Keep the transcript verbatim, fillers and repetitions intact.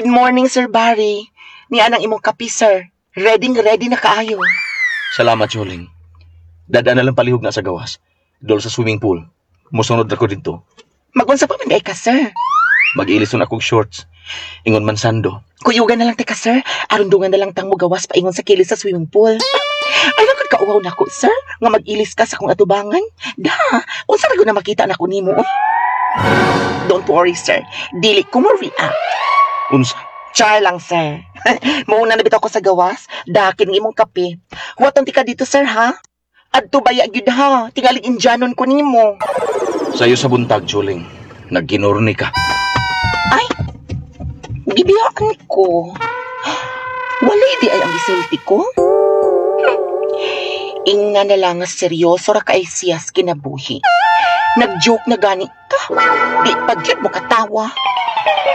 Good morning, Sir Barry. Nia nang imong kape, sir. Ready ready na kaayo. Salamat, Choling. Dada na lang palihog na sa gawas. Dol sa swimming pool. Musunod ako dito. Magunsa pa man diay ka, sir. Mag-ilison akong shorts. Ingon man sando. Kuyugan na lang ka, sir. Aron dungan na lang tang gawas paingon sa kilis sa swimming pool. Ay, lang kauwaw nako, sir. Nga mag-ilis ka sa akong atubangan. Da, unsa ra na makita nako nimo? Oy? Don't worry, sir. Dili ko mo react. Unsa? Char lang, sir. Mauna na bitaw ko sa gawas. Dakin ng imong kape. Huwaton ti ka dito, sir, ha? Adto baya gyud ha. Tingalig Indianon ko nimo. Sayo sa buntag, Choling. Nagginurni ka. Ay, gibiyaan ko. Walay di ay ang gisulti ko. Hmm. Ingna na lang nga seryoso ra kay siyas kinabuhi. Nag-joke na gani ka. Di pa gyud mo katawa.